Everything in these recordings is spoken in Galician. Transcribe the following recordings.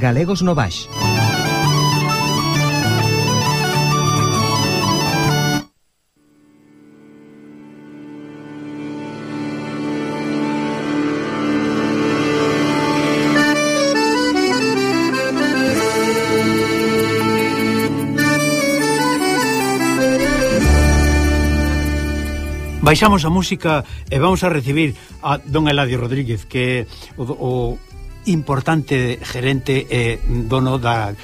Galegos no Baix. Baixamos a música e vamos a recibir a don Eladio Rodríguez, que é o importante gerente e dono da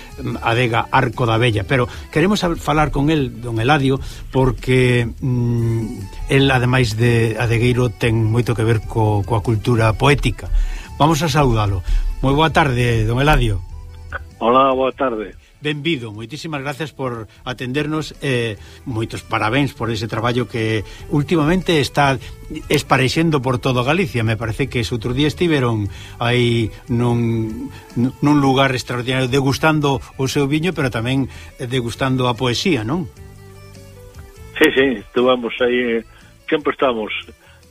adega Arco da Vella. Pero queremos falar con el, don Eladio, porque el, ademais de adegueiro, ten moito que ver coa cultura poética. Vamos a saudalo. Moi boa tarde, don Eladio. Hola, boa tarde. Benvido, moitísimas gracias por atendernos, moitos parabéns por ese traballo que últimamente está esparexendo por todo Galicia. Me parece que ese outro día estiveron aí nun lugar extraordinario degustando o seu viño, pero tamén degustando a poesía, non? Sí, estuvamos aí, sempre estamos.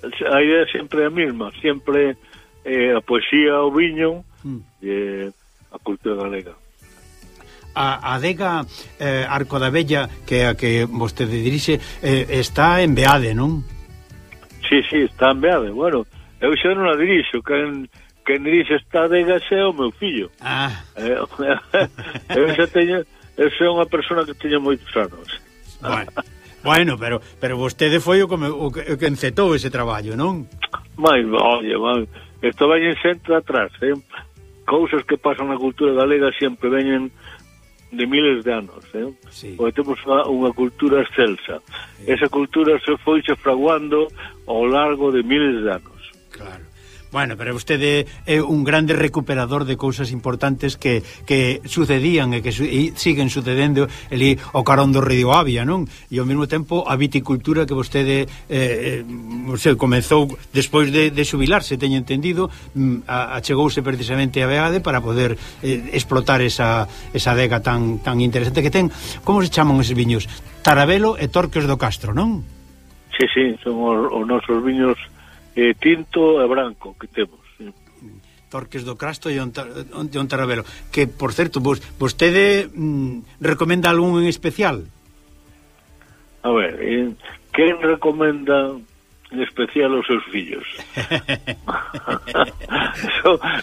A idea sempre é a mesma, sempre a poesía, o viño e a cultura galega. A adega Arco da Vella, que é a que vostede dirixe, está en Beade, non? Sí, está en Beade. Bueno, eu xa non a dirixo, quen dirixe esta adega xa é o meu fillo. Eu xa teño, eu sou unha persona que teño moitos anos. Bueno, pero vostede foi o que encetou ese traballo, non? Oye, isto veñen sempre atrás, cousas que pasan na cultura galega sempre veñen de miles de anos, Sí. Porque temos unha cultura excelsa. Sí. Esa cultura se foi fraguando ao largo de miles de anos. Claro. Bueno, pero vostede é un grande recuperador de cousas importantes que sucedían e que siguen sucedendo ali ao carón do río Avia, non? E ao mesmo tempo a viticultura que vostede comezou despois de xubilarse, teño entendido, achegouse precisamente a Beade para poder explotar esa adega tan interesante que ten. Como se chaman eses viños? Tarabelo e Torques do Castro, non? Sí, son os nosos viños tinto e branco que temos, sí. Torques do Castro e un Tarabelo. Que, por certo, vostede recomenda algún en especial? A ver, quen recomenda en especial os seus fillos?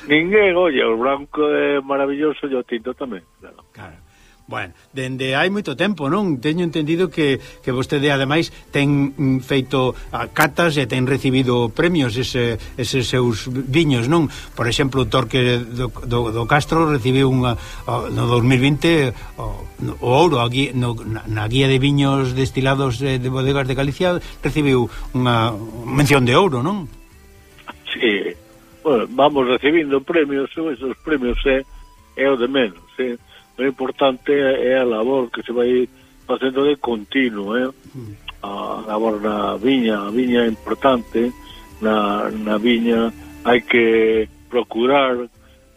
Ninguén, oye, o branco é maravilloso e o tinto tamén, claro. Bueno, dende hai moito tempo, non? Teño entendido que vostede, ademais, ten feito catas e ten recibido premios eses seus viños, non? Por exemplo, o Torque do Castro recibiu no 2020 o ouro na guía de viños destilados de bodegas de Galicia, recibiu unha mención de ouro, non? Sí, bueno, vamos recibindo premios, esos premios é o de menos, O importante é a labor que se vai facendo de continuo, a labor na viña. A viña é importante. Na viña hai que procurar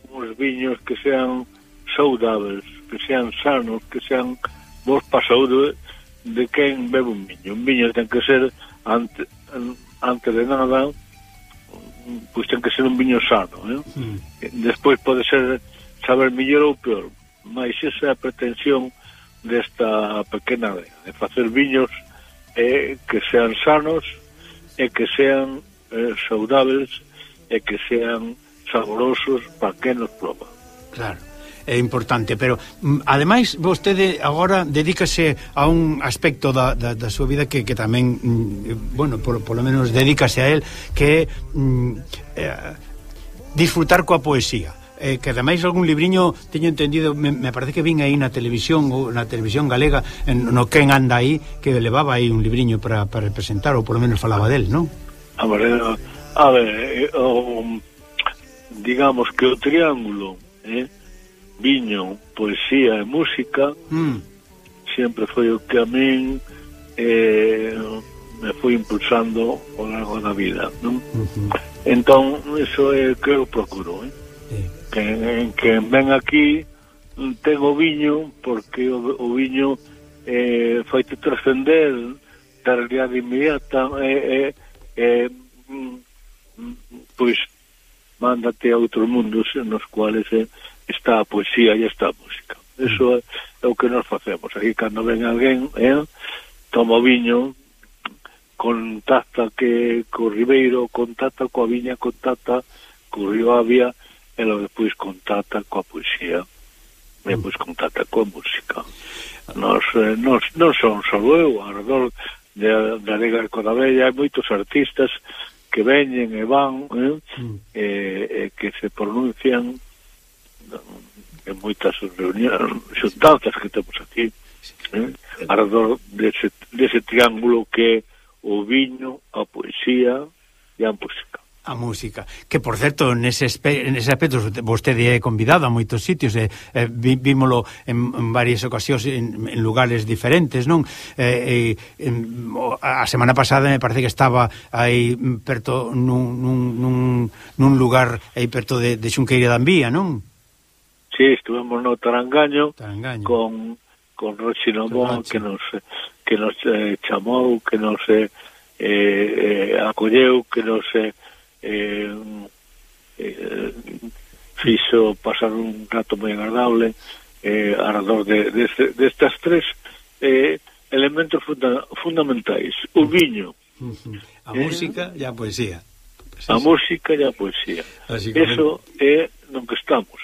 uns viños que sean saudáveis, que sean sanos, que sean bons para a saúde de quen bebe un viño. Un viño ten que ser, antes de nada, pois ten que ser un viño sano, Despois pode ser saber mellor ou peor, mas esa é a pretensión desta pequena adega, de facer viños que sean sanos e que sean saudáveis e que sean saborosos para quen nos proba. Claro, é importante, pero ademais vostede agora dedícase a un aspecto da súa vida que tamén, bueno, polo menos dedícase a él, que é disfrutar coa poesía. Que ademais algún libriño, teño entendido, me parece que vin aí na televisión galega, no Quen anda aí, que levaba aí un libriño para representar, ou polo menos falaba del, non? A ver, digamos que o triángulo viño, poesía e música sempre foi o que a min me foi impulsando ao largo da vida, non? Entón, iso é o que eu procuro, que ven aquí ten o viño, porque o viño faite trascender da realidade inmediata, pois mándate a outros mundos nos cuales está a poesía e está a música. Eso é o que nos facemos. Aquí cando ven alguén, toma o viño, contacta co Ribeiro, contacta coa viña, contacta co Río Avia, e logo depois contacta coa poesía, e depois contacta coa música. Non son só eu, alrededor da Lega de Codabella hai moitos artistas que veñen e van, que se pronuncian en moitas reunións, xuntanzas que temos aquí, alrededor dese triángulo que é o viño, a poesía e a música. A música, que por certo nese aspecto vostede é convidado a moitos sitios, vímolo en varias ocasións en lugares diferentes, non? A semana pasada me parece que estaba aí perto nun lugar aí perto de Xunqueira de Ambía, non? Sí, estuvemos no Tarangaño. con Rochi Nomón, que nos chamou, que nos acolleu, que nos fixo pasar un rato moi agradable alrededor destas tres elementos fundamentais: o viño, a música e a poesía. A música e a poesía. Eso é no que estamos,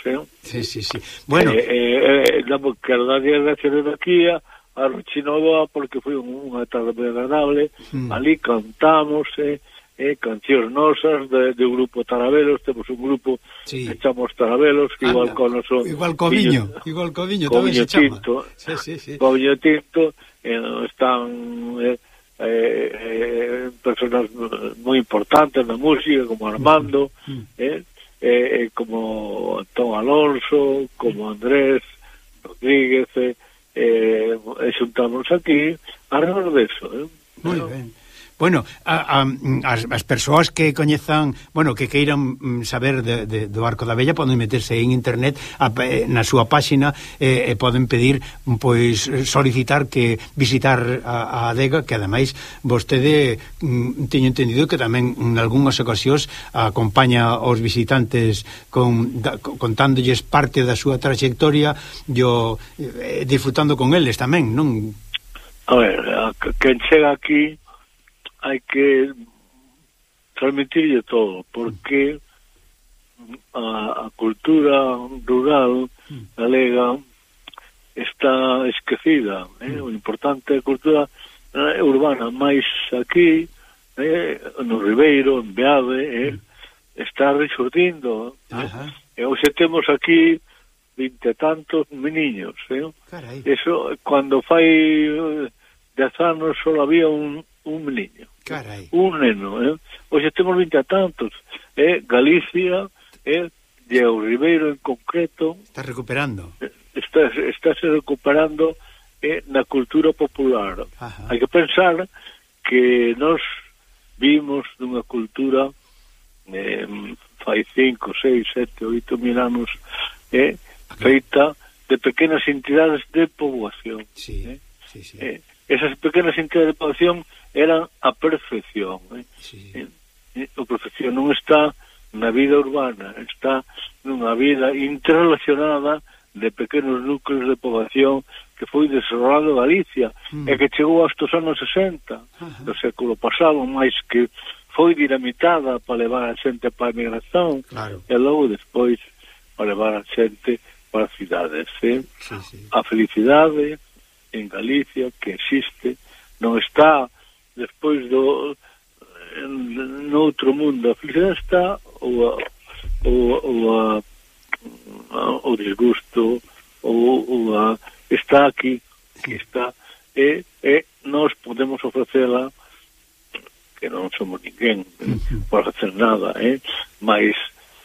Sí. Bueno, quero darlle as gracias de aquí a Rochinoa, porque foi unha tarde moi agradable. Ali cantamos cancións nosas do grupo Tarabelos. Temos un grupo que chamamos Tarabelos, que igual co noso viño tamén se chama. Co viño tinto, están personas moi importantes na música, como Armando, como Antón Alonso, como Andrés Rodríguez, xuntamos aquí alrededor deso. Moi ben. Bueno, as persoas que coñezan, bueno, que queiran saber do Arco da Vella poden meterse en internet na súa páxina e poden pedir, pois, solicitar que visitar a adega, que ademais vostede teño entendido que tamén en algunhas ocasións acompaña aos visitantes contándolles parte da súa trayectoria e disfrutando con eles tamén, non? A ver, quen chega aquí hai que transmitirlle todo, porque a cultura rural galega está esquecida. O importante é a cultura urbana, máis aquí no Ribeiro, en Beade, está resurdindo. E hoxe temos aquí 20 e tantos meniños. Eso, cando fai 10 anos só había un meniño. Carai. Un neno, Hoxe temos 20 e tantos. Galicia, e o Ribeiro en concreto está recuperando. Estáse recuperando na cultura popular. Hai que pensar que nós vimos nunha cultura fai 5, 6, 7, 8 mil anos feita de pequenas entidades de poboación. Sí. Esas pequenas entidades de poboación eran a perfección. A perfección non está na vida urbana, está nunha vida interrelacionada de pequenos núcleos de poboación que foi desarrollado Galicia e que chegou hasta os anos 60 do século pasado, máis que foi dinamitada para levar a xente para a migración, e logo despois para levar a xente para as cidades. A felicidade en Galicia que existe non está despois no outro mundo. A felicidade está o disgusto está aquí, que está, e nós podemos ofrecela, que non somos ninguén por facer nada, mas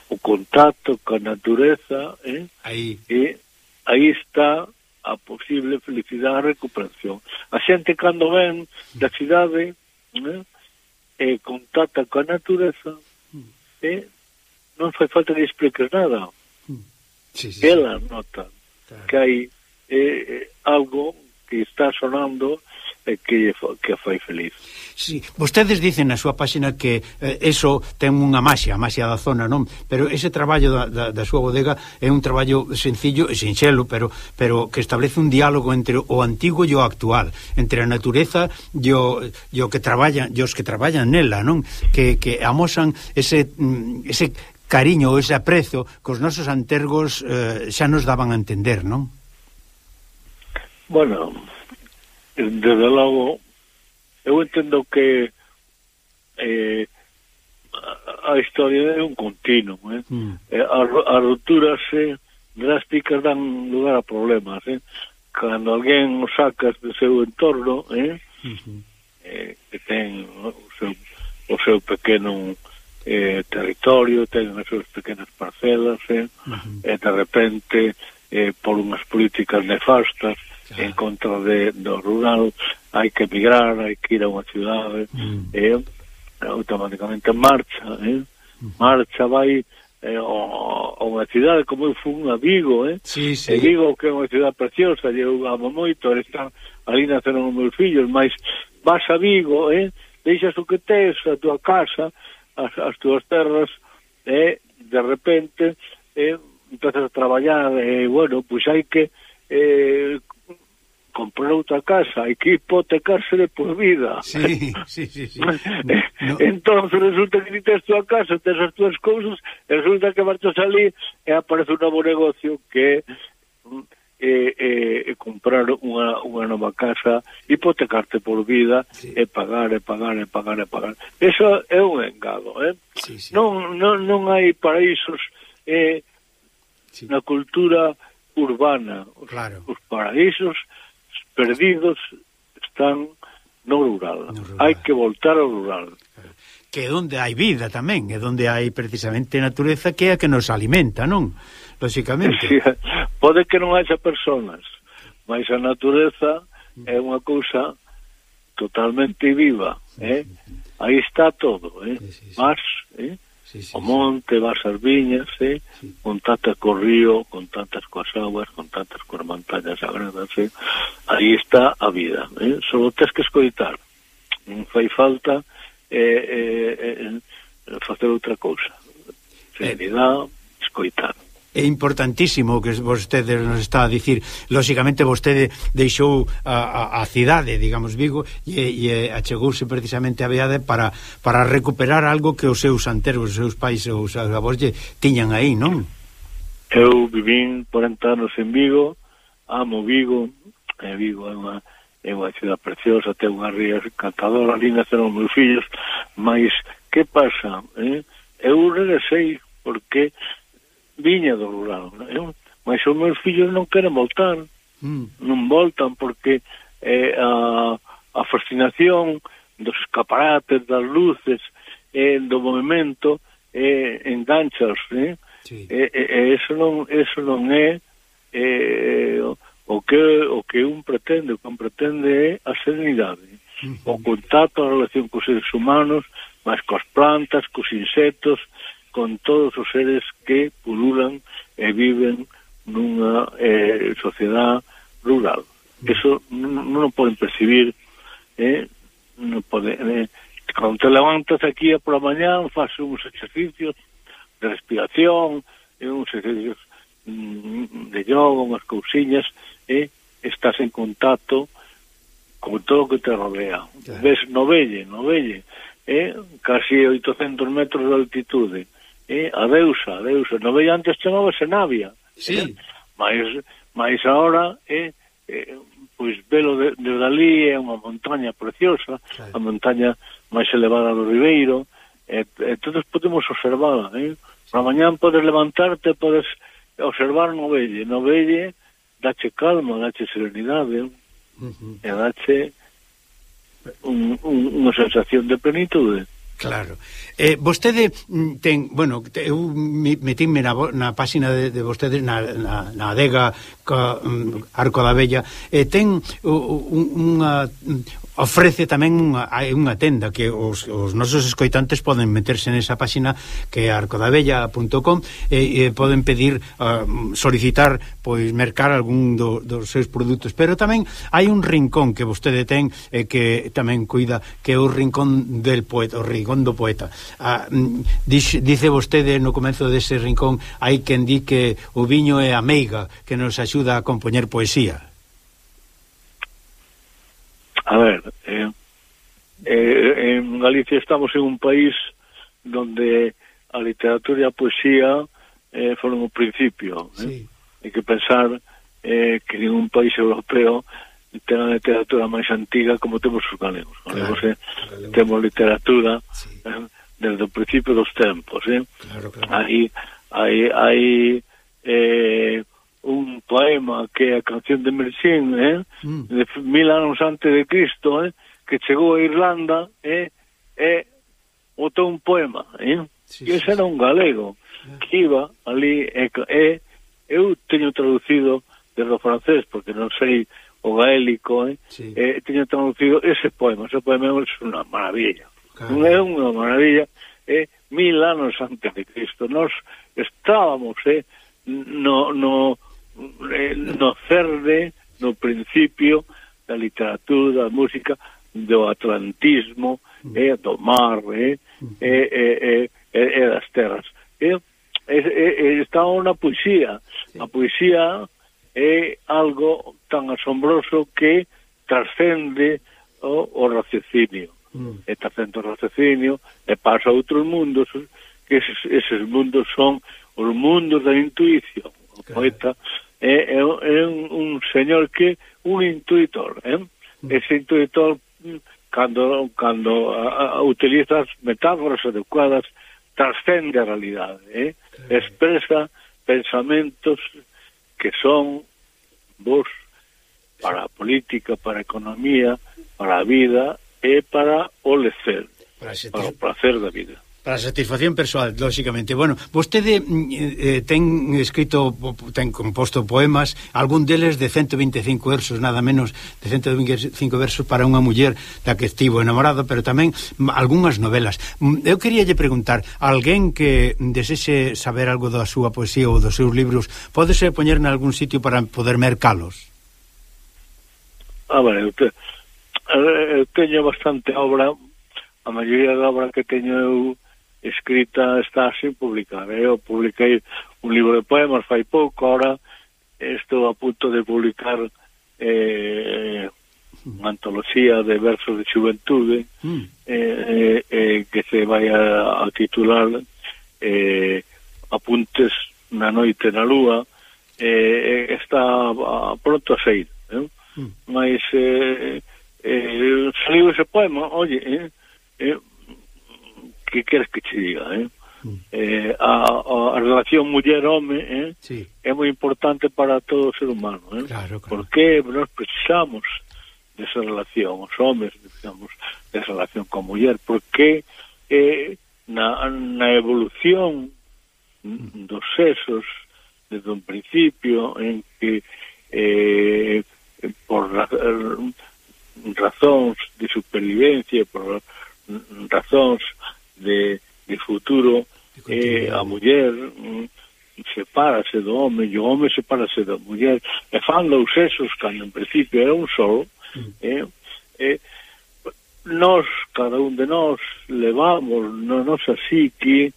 o contacto coa natureza, aí está a posible felicidade e recuperación. A xente cando ven da cidade contacta coa natureza, non fai falta de explicar nada. Ela nota que hai algo que está sonando que a fai feliz. Sí, vostedes dicen na súa páxina que eso ten unha maxia, a maxia da zona, non? Pero ese traballo da súa bodega é un traballo sencillo e sinxelo, pero que establece un diálogo entre o antigo e o actual, entre a natureza e o que traballan, e os que traballan nela, non? Que amosan ese cariño ou ese aprezo que os nosos antergos xa nos daban a entender, non? Bueno, desde logo eu entendo que a historia é un continuo, as rupturas drásticas dan lugar a problemas, cando alguén o sacas do seu entorno, que ten o seu pequeno territorio, ten as súas pequenas parcelas, e de repente por unhas políticas nefastas en contra do rural, hai que emigrar, hai que ir a unha cidade, automáticamente marcha, vai a unha cidade como eu fui a Vigo, Sí. E Vigo que é unha cidade preciosa, eu amo moito, están ali naceron os meus fillos, mas vas a Vigo, deixas o que tes, a tua casa, as túas terras, e de repente empezas a traballar, bueno, pois hai que comprar outra casa, hai que hipotecarse de por vida. Sí. Entón resulta que tes tua casa, tes as túas cousas, e resulta que marchas ali e aparece un novo negocio que é comprar unha nova casa, hipotecarte por vida, e pagar. Eso é un engado, Sí. Non hai paraísos na cultura urbana. Os paraísos perdidos están no rural. Hai que voltar ao rural. Que é onde hai vida tamén, é onde hai precisamente natureza que é a que nos alimenta, non? Lóxicamente. Sí, pode que non haxa personas, mas a natureza é unha cousa totalmente viva, Aí está todo, Vas, o monte, vas as viñas, contactas co río, contactas coas aguas, contactas coas montañas sagradas, aí está a vida, só tens que escoitar, non fai falta facer outra cousa, serenidade, escoitar. É importantísimo o que vostede nos está a dicir. Lóxicamente vostede deixou a cidade, digamos, Vigo, e achegouse precisamente a Beade para recuperar algo que os seus anteros, os seus pais ou os seus avós tiñan aí, non? Eu vivín 40 anos en Vigo, amo Vigo, Vigo é unha cidade preciosa, ten unha ría encantadora, ali naceron meus fillos, mas que pasa? Eu regresei porque viña do rural, mas os meus fillos non queren voltar, non voltan porque a fascinación dos escaparates, das luces, do movimento, enganchas, eso non é o que un pretende. O que un pretende é a serenidade, o contacto, a relación cos seres humanos, mas coas plantas, cos insectos, con todos os seres que pululan e viven nunha sociedade rural. Eso non poden percibir, non poden. Cando te levantas aquí por a mañán, faz uns exercicios de respiración, uns exercicios de yoga, unhas cousiñas, estás en contacto con todo o que te rodea. Ves no Velle, casi 800 metros de altitude, a deusa, no Velle antes chamábase Navia, mas agora pois velo desde ali é unha montaña preciosa, a montaña máis elevada do Ribeiro, todos podemos observala, para mañán podes levantarte, podes observar no Velle dache calma, dache serenidade, e dache unha sensación de plenitude. Claro. Vostede ten, bueno, eu metíme na páxina de vostedes na adega Arco da Vella, ten unha ofrece tamén unha tenda que os nosos escoitantes poden meterse nesa páxina que é arcodabella.com e poden pedir, solicitar, pois mercar algún dos seus produtos, pero tamén hai un rincón que vostede ten que tamén cuida, que é o rincón del poeta, o rincón do poeta. Dice vostede no comezo dese rincón, hai quen di que o viño é a meiga que nos axuda a compoñer poesía. A ver, en Galicia estamos en un país donde a literatura e a poesía foron o principio. Sí. Hai que pensar que ningún país europeo ten a literatura máis antiga como temos os galegos. Claro, temos literatura, sí, desde o principio dos tempos. Claro. Hai un poema que é a canción de Mercín, de 1000 anos antes de Cristo, que chegou a Irlanda, botou un poema, sí, e ese era un galego que iba ali, eu teño traducido desde o francés, porque non sei o gaélico, sí, teño traducido ese poema é unha maravilla, non é unha maravilla, 1000 anos antes de Cristo, nós estábamos no cerne, no principio da literatura, da música, do atlantismo, do mar, e das terras. Está na poesía. Sí. A poesía é algo tan asombroso que trascende o raciocinio. Trascende o raciocinio e pasa a outros mundos, que eses mundos son os mundos da intuición. O poeta é un señor que un intuitor, ese intuitor cando utiliza as metáforas adecuadas trascende a realidade, expresa pensamentos que son vos para a política, para a economía, para a vida e para o lecer, para o placer da vida. Para a satisfacción persoal, lóxicamente. Bueno, vostede ten escrito, ten composto poemas, algún deles de 125 versos, nada menos de 125 versos para unha muller da que estivo enamorado, pero tamén algunhas novelas. Eu queríalle preguntar, alguén que desexe saber algo da súa poesía ou dos seus libros, pódese poñer en algún sitio para poder mercalos? Eu teño bastante obra, a maioría da obra que teño eu escrita está sin publicar. Eu publiquei un libro de poemas fai pouco, ahora estou a punto de publicar unha antoloxía de versos de xuventude que se vai a titular Apuntes na noite na lúa, está pronto a sair, mas saliu ese poema, oye, que queres que te diga, a relación muller-home sí, é moi importante para todo o ser humano, claro. Porque nós precisamos desa relación, os homes precisamos desa relación con muller, porque na evolución dos sexos desde un principio en que por razóns de supervivencia, por razóns de futuro, a muller sepárase do home e o home sepárase da muller e fan dous sexos cando en principio era un solo. Nós, cada un de nós levamos na nosa psique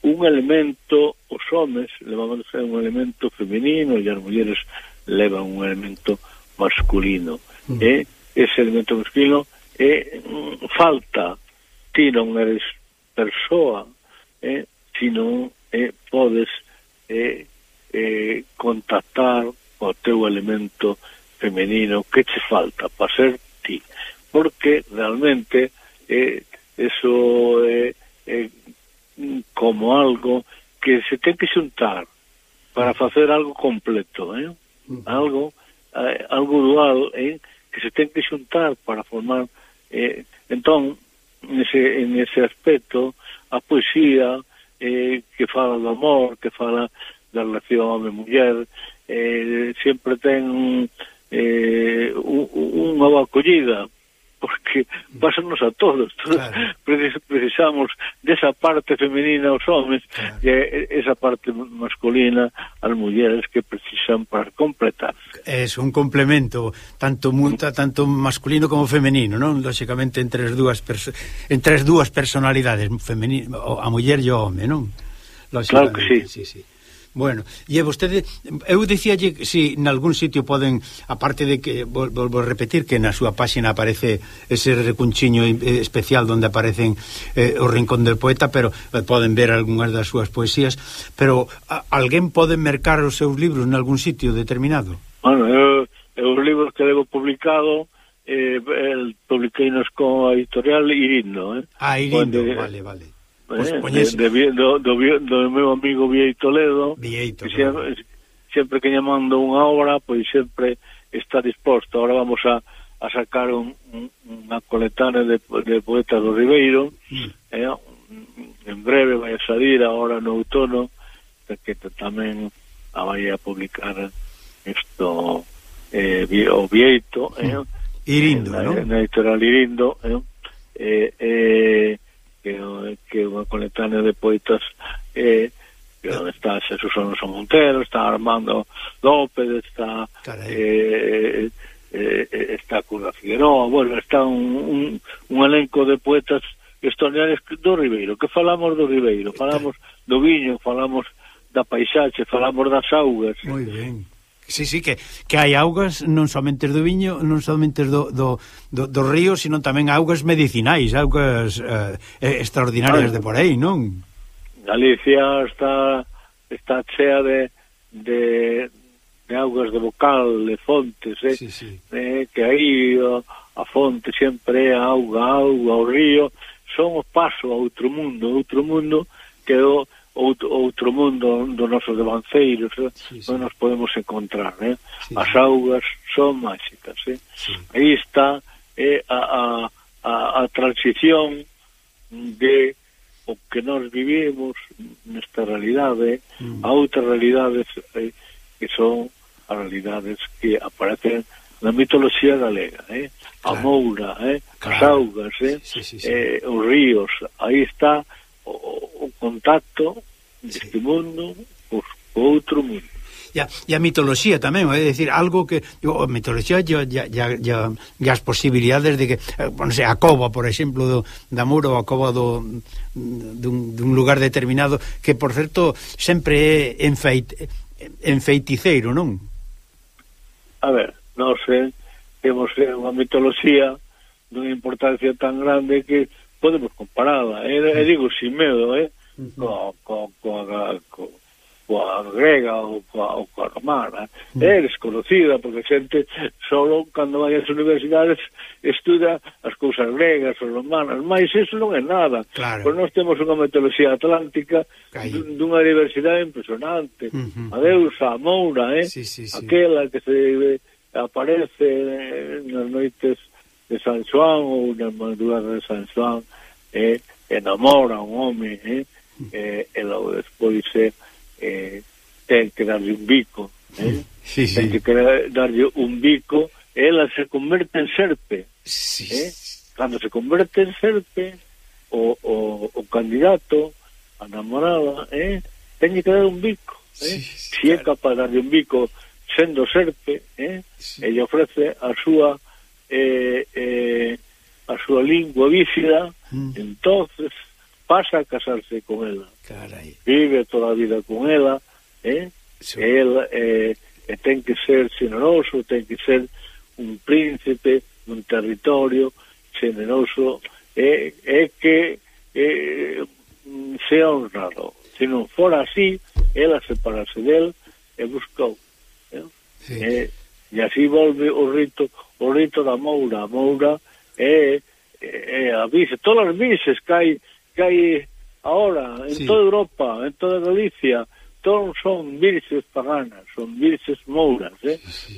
un elemento, os homes levamos un elemento femenino e as mulleres levan un elemento masculino. Ese elemento masculino falta. Ti non eres persoa, ti non podes contactar o teu elemento femenino que che falta para ser ti, porque realmente eso é como algo que se ten que xuntar para facer algo completo, algo dual, que se ten que xuntar para formar. Entón, en ese aspecto, a poesía que fala do amor, que fala da relación home-muller, sempre ten unha boa acollida, que pásanos a todos. Claro. Precisamos desa parte femenina aos homens, claro, e esa parte masculina ás mulleres que precisan para completar. É un complemento tanto masculino como femenino, non? Lóxicamente entre as dúas personalidades, a muller e o home, non? Claro que sí. Sí. Bueno, e vostede, eu dicíalle si nalgún sitio poden, aparte de que volvo a repetir que na súa páxina aparece ese recunchiño especial onde aparecen o Rincón del Poeta, pero poden ver algunhas das súas poesías, pero alguén pode mercar os seus libros nalgún sitio determinado? Bueno, os libros que levo publicado publiqueinos con a editorial Irindo, Irindo, vale. Pues do meu amigo Vieito Ledo, Vieito, sempre que lle mando unha obra, pois sempre está disposto. Ahora vamos a sacar unha coletánea de poetas do Ribeiro, en breve vai a salir agora no outono, que tamén a vai a publicar isto o Vieito, Irindo, non? Na editorial Irindo, que é unha coletánea de poetas que está Xesús Alonso Montero, está Armando López, está está Curra Figueroa, bueno, está un elenco de poetas extraordinarios do Ribeiro, que falamos do Ribeiro, falamos do viño, falamos da paisaxe, falamos das augas. Moi ben. Sí, que hai augas non somente do viño, non somente do río, sino tamén augas medicinais, augas extraordinarias de por aí, non? Galicia está chea de augas de bocal, de fontes, sí. Que aí a fonte sempre é a auga, o río, son o paso a outro mundo que é outro mundo dos nosos devanceiros, non nos podemos encontrar, as augas son máxicas, aí está a transición de o que nós vivimos nesta realidade a outras realidades que son as realidades que aparecen na mitoloxía galega, a moura, as augas, os ríos, aí está o contacto deste mundo co outro mundo. E a mitoloxía tamén, é dicir, algo que a mitoloxía e as posibilidades de que, non sei, a cova, por exemplo, da Mura, ou a cova dun lugar determinado, que, por certo, sempre é enfeiticeiro, non? A ver, nós temos unha mitoloxía dunha importancia tan grande que podemos comparala, digo sin medo, coa grega ou coa romana, é desconocida porque a xente solo cando vai ás universidades estuda as cousas gregas ou romanas, mas iso non é nada, pois nós temos unha mitoloxía atlántica dunha diversidade impresionante, a deusa, a moura, aquela que se aparece nas noites de San Xoán ou nas madrugadas de San Xoán, enamora un home, e logo despois ten que darlle un bico, ten que darlle un bico, e ela se converte en serpe. Cando se converte en serpe, o candidato, a namorada, ten que dar un bico. Se é capaz de darlle un bico sendo serpe, e lle ofrece a súa lingua bífida, entonces pasa a casarse con ela. Vive toda a vida con ela, ela ten que ser generoso, ten que ser un príncipe dun territorio generoso, que sea honrado. Se non fora así, ela separase del e buscou. E así volve o rito da moura. A moura é a vice, todas as vices que hai ahora en toda Europa, en toda Galicia, todos son virxes paganas, son virxes mouras,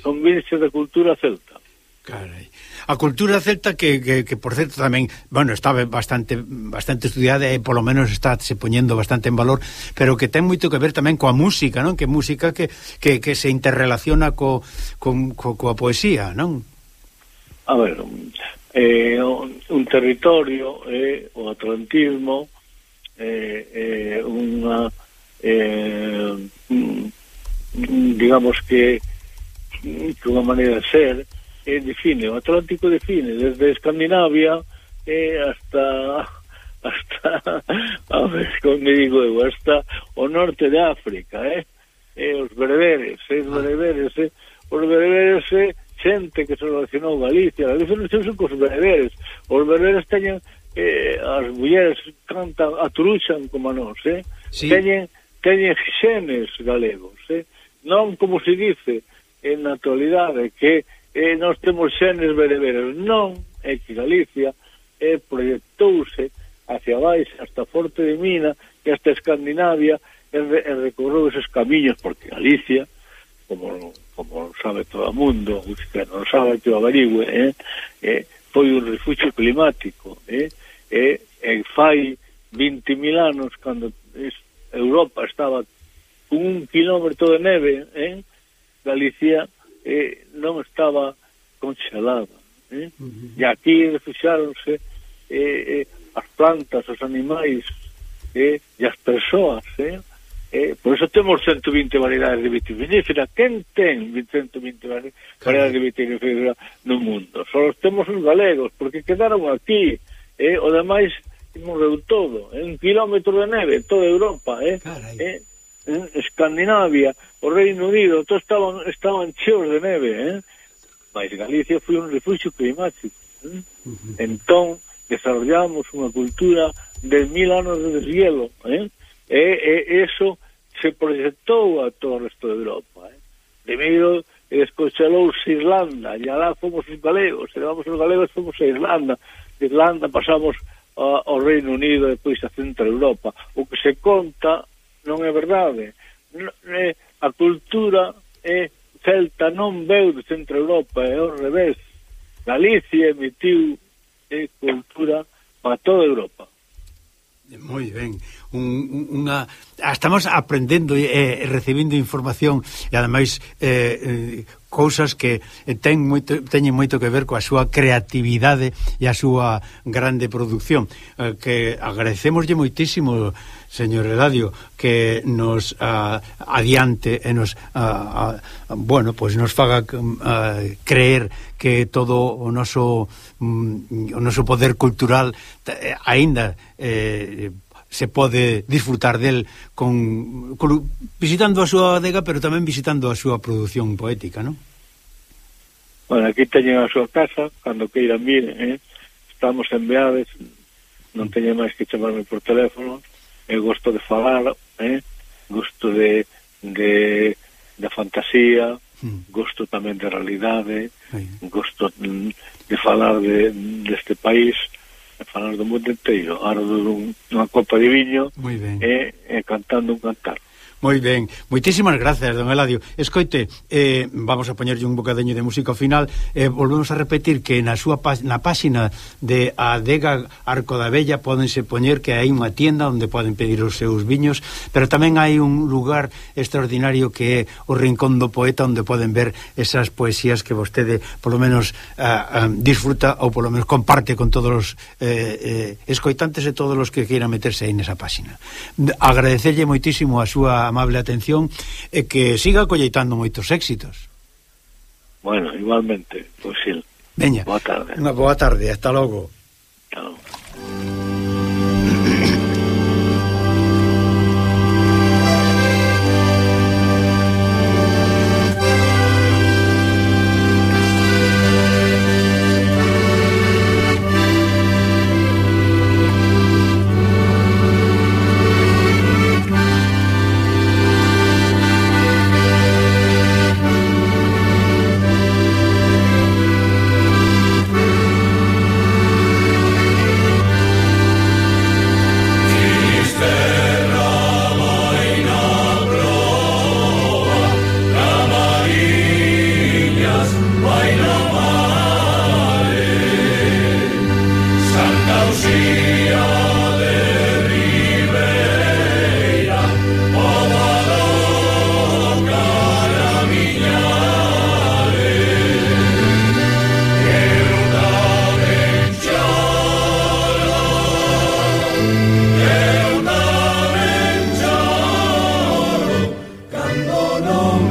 son virxes da cultura celta. Carai. A cultura celta que por certo tamén, bueno, está bastante estudiada e polo menos está se poñendo bastante en valor, pero que ten moito que ver tamén coa música, non? Que música que se interrelaciona coa poesía, non? A ver, un territorio, o atlantismo, digamos que unha maneira de ser, define, o Atlántico define desde Escandinavia hasta a ver como me digo eu, hasta o norte de África, os bereberes, os bereberes xente que se relacionou Galicia non se cos bereberes, os bereberes teñen as mulleres cantan, atruxan como a nós, sí. teñen xenes galegos, non como se dice en na actualidade que nós temos xenes bereberes, non, é que Galicia proyectouse hacia baixo hasta Forte de Mina e hasta Escandinavia e recorreu esos camiños, porque Galicia, como sabe todo o mundo, que non sabe que o averigüe, foi un refugio climático, fai 20.000 anos, cando Europa estaba con 1 kilómetro de neve, Galicia non estaba congelada, e aquí refuxáronse as plantas, os animais e as persoas, por eso temos 120 variedades de vitivinífera. Quen ten 120 variedades de vitivinífera no mundo? Só os temos os galegos, porque quedaron aquí, o demais morreu todo, 1 kilómetro de neve, toda Europa, Escandinavia, o Reino Unido, todos estaban cheos de neve, mas Galicia foi un refugio climático, entón desarrollamos unha cultura de 1000 anos de deshielo, eso se proyectou a todo o resto de Europa, primeiro desconxelouse Irlanda, e alá fomos os galegos, e levamos os galegos, fomos a Irlanda, de Irlanda pasamos ao Reino Unido e depois a Centro Europa. O que se conta non é verdade, a cultura celta non veu de Centro Europa, é ao revés. Galicia emitiu cultura para toda Europa. Moi ben, estamos aprendendo e recibindo información e ademais cousas que teñen moito que ver coa súa creatividade e a súa grande produción, que agradecemoslle moitísimo, señor Eladio, que nos adiante e nos pues nos faga creer que todo o noso poder cultural aínda se pode disfrutar del visitando a súa adega, pero tamén visitando a súa produción poética, non? Bueno, aquí teñen a súa casa, cando queiran vir, estamos en Beades, non teñen máis que chamarme por teléfono, gosto de falar, gosto de fantasía, gosto tamén de realidade, gosto de falar deste país, de falar do mundo inteiro, ardo dunha copa de viño e cantando un cantar. Moi ben, moitísimas gracias, don Eladio. Escoite, vamos a poñerlle un bocadeño de música ao final, volvemos a repetir que na páxina de Adega Arco da Vella pódense poñer que hai unha tienda onde poden pedir os seus viños, pero tamén hai un lugar extraordinario que é o Rincón do Poeta, onde poden ver esas poesías que vostede polo menos disfruta ou polo menos comparte con todos os escoitantes e todos os que queiran meterse aí nesa páxina. Agradecerlle moitísimo a súa amable atención e que siga colleitando moitos éxitos. Bueno, igualmente, pois sí. Veña, boa tarde. Unha boa tarde, hasta logo. Chao. long